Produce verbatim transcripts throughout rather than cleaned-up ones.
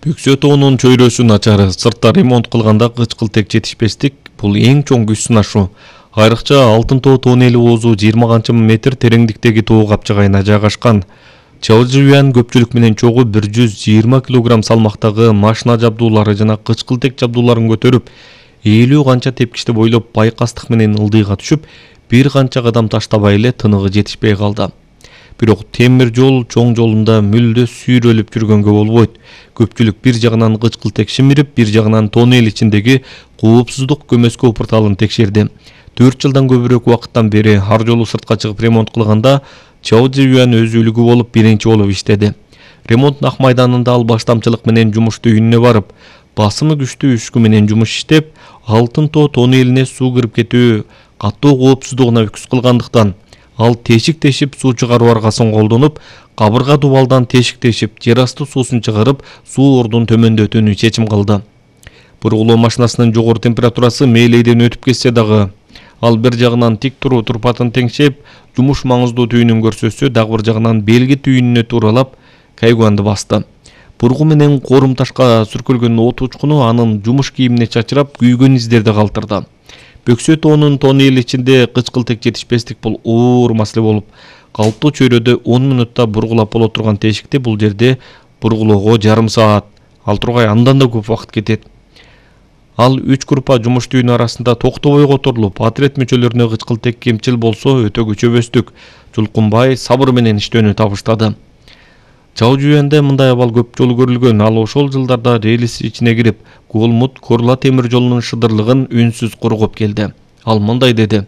Бөксө тоонун чөйрөсү начар, сыртта ремонт кылганда кычкылтек жетишпестик бул эң чоң күч сынашуу. Айрыкча Алтын тоо тоннели оозу жыйырма канча метр тереңдиктеги тоо капчыгайына жайгашкан. Чаожуян көпчүлүк менен чогуу бир жүз жыйырма килограмм салмактагы машина жабдуулары жана кычкылтек жабдууларын көтөрүп, элүү канча тепкичти бойлоп байкастык менен ылдыйга түшүп, бир канча кадам таштабай эле тыныгы жетишпей калды. Бирок темир жол чоң жолунда мүлдө сүйрөлүп жүргөнгө болбойт. Көпчүлүк бир жагынан кычкылтек шимирип, бир жагынан тоннел ичиндеги коопсуздук көмөскө порталын текшерди. төрт жылдан көбүрөөк убакыттан бери ар жолу сыртка чыгып ремонт кылганда Чаожуян өз үлгү болуп биринчи болуп иштеди. Ремонт нак майданында ал баштамчылык менен жумушту үйүнө барып, басымы күчтүү үшкү менен жумуш иштеп, Алтын тоо тоннелине суу кирип кетүү катуу коопсуздугуна үкүс кылгандыктан ал тешик тешип суу чыгаруу аргасын колдонуп, кабырга дубалдан тешик тешип, жер асты суусун чыгарып, суу ордун төмөндөтүүнү чечим кылды. Бургулоо машинасынын жогору температурасы мээлейден өтүп кетсе дагы, ал бир жагынан тик туруу турпатын теңшеп, жумуш маңыздуу түйүнүн көрсөтсө, дагы бир жагынан белги түйүнүнө тууралап, кайгуанды басты. Бургу менен корум ташка сүркөлгөн от учкуну анын жумуш кийимине чачырап, күйгөн издерди калтырды. Бөксө тоонун тоннел ичинде кычкылтек жетишпестик бул оор маселе болуп, калыптуу чөйрөдө он мүнөттө бургулап боло турган тешикти бул жерде бургулоого жарым саат, ал тургай андан да көп убакыт кетет. Ал үч группа жумуш түйүнү арасында токтобой которулуп, отряд мүчөлөрүнө кычкылтек кемчил болсо өтө күчөбөстүк, жулкунбай сабыр менен иштөөнү табыштады. Чаожуянда мындай абал көп жолу көрүлгөн. Ал ошол жылдарда релис ичине кирип, Голмуд-Корла темир жолунун шыдырлыгын үнсүз коргоп келди. Ал мындай деди: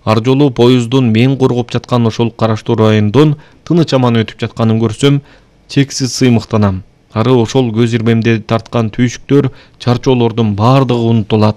ар жолу поезддун мен коргоп жаткан ошол караштуу райондон тыныч аман өтүп жатканын көрсөм, чексиз сыймыктанам. Ары ошол көз ирмемде тарткан түйшүктөр, чарчоолордун бардыгы унутулат.